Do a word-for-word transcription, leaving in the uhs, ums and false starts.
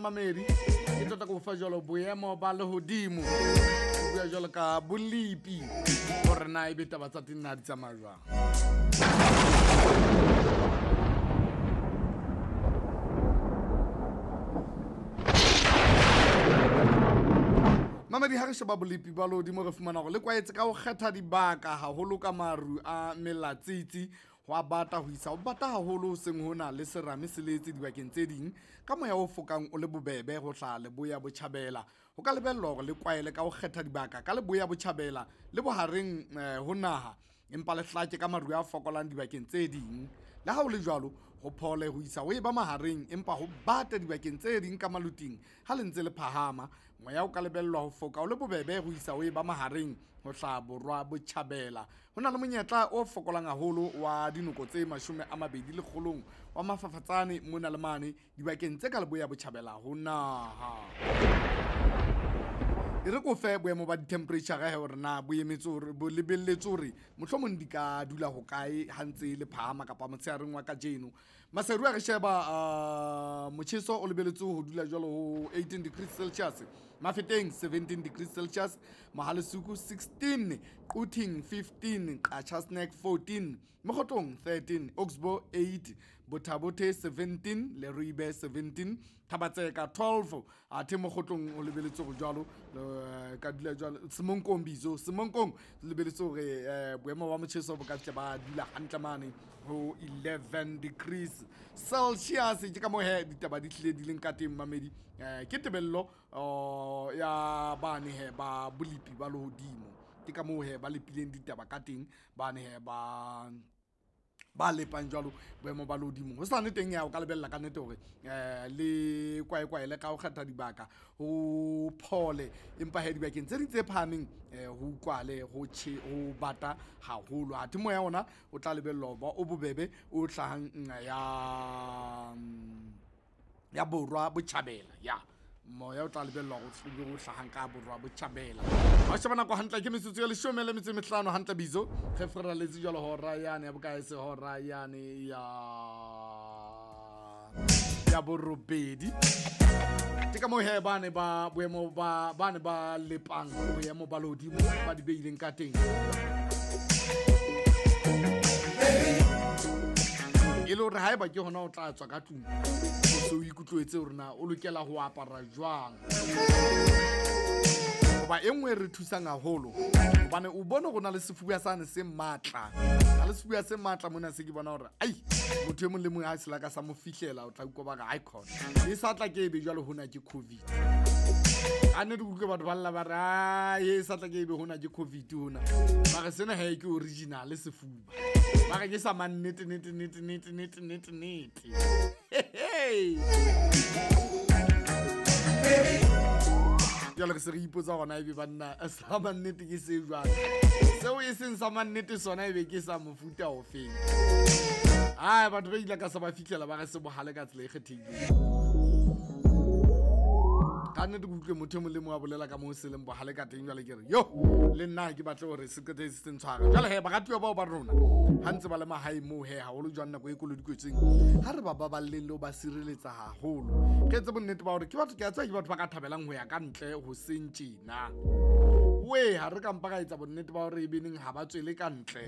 mamedi ke tlo tla go fa jalo boemo ba lehodimo o bua jalo ka bolipi gore na ebe taba tsa teng na di tsamaya jwang. Mamedi ha re sheba bolepi ba lehodimo re fumana hore le kwaetse ka ho kgetha dibaka haholo ka maru a melatsitsi ho a bata ho isa ho bata haholo hoseng hona le serame se letse dibakeng tse ding ka moya o fokang o le bobebe ho hlaha leboya botjhabela. Ho ka lebellwa hore le kwaele ka ho kgetha dibaka ka leboya botjhabela le bohareng eh, ho naha empa le hlake ka maru a fokolang dibakeng tse ding. Le ha ho le jwalo ho phole ho isa ho eba mahareng empa ho bata dibakeng tse ding ka maluting ha le ntse le phahama. Moya o ka lebellwa ho foka o le bobebe ho isa ho eba mahareng ho hlaha borwa botjhabela. Ho na le monyetla o fokolang haholo wa dinoko tse mashome a mabedi lekgolong wa mafafatsane mona le mane dibakeng tse ka leboya botjhabela ho naha. E re ko fe boemo ba di-temperature he hore na bo emetse hore bo lebelletse hore mohlomong di ka dula hokae ha ntse le phahama kapa motshehareng wa kajeno. Maseru a re sheba uh, motjheso o lebelletse ho dula jwalo ho eighteen degrees Celsius, Mafeteng seventeen degrees Celsius, Mohalesuku sixteen, Quthing fifteen, Qacha's Nek fourteen, Mokhotlong thirteen, Oxbow eight, Botha-Bothe seventeen, Leribe seventeen, Thabatseka twelve, athe Mokhotlong o lebelletse ho jwalo ka dula jwalo Semonkong bizo Semonkong lebeletse hore eh, boemo ba motjheso bo ka tle ba dula hantle mane ho eleven degrees Celsius. Ke ka moo he ditaba di hlile di leng ka teng mamedi. Eh, ke tebello oh, ya bane he ba bolepi ba lehodimo. Ke ka moo he ba lepileng ditaba ka teng bane he ba ba lepang jwalo boemo ba lehodimo. Ho sane teng ya o ka lebella ka nnete hore eh le kwaekwae le ka ho kgetha dibaka ho phole empa he dibakeng tse ding tse phahameng eh ho utlwale ho tjhe ho bata haholo. Athe moya ona o tla lebellwa ho ba o bobebe o hlahang ya ya borwa botjhabela ya moya o tla lebellwa ho o hlahang ka borwa botjhabela. Ha o sheba nako hantle ke metsotso ya leshome le metso e mehlano hantle bizo re feraletse jwalo hora yane ya bokae se hora yane ya ya borobedi. Ke ka moo he bane ba boemo ba bane ba lepang boemo ba lehodimo ba di beileng ka teng. E le hore haeba ke hona o tla tswa ka tlung o se o ikutlwetse hore na o lokela ho apara jwang. Hoba e nngwe e re thusang haholo hobane o bone hore na le sefuba sane se matla. Ha le sefuba se matla mona se ke bona hore ai motho e mong le mong ha se laka sa mo fihlela o tla utlwa ba re ai khona e sa tla ke ebe jwalo hona ke COVID. A ne di utlwe batho ba lla ba re ai e sa tla ke ebe hona ke COVID hona. Ba re sena he ke original sefuba. Ba re ke sa mannete nete nete nete nete nete nete. Hey. Jwale re se re ipotsa hona ebe banna sa mannete ke se jwang. Seo e seng sa mannete sona ebe ke sa mofuta ofeng. Ai batho ba ile ka sa ba fihlela ba re se bohale ka tsela e kgethehileng. Ka nnete ke utlwe motho e mong le mong a bolela ka moo se leng bohale ka teng jwale ke re yo le nna ke batle hore se qete se ntshware. Jwale he baratuwa bao ba rona ha ntse ba le mahae moo he haholo jwang nako e kolodikwetseng ha re ba baballeng le ho ba sireletsa haholo. Ke etse bonnete ba hore ke batho ke a tseba ke batho ba ka thabelang ho ya ka ntle ho seng tjena. We ha re ka mpa ka etsa bonnete ba hore e beneng ha ba tswele ka ntle.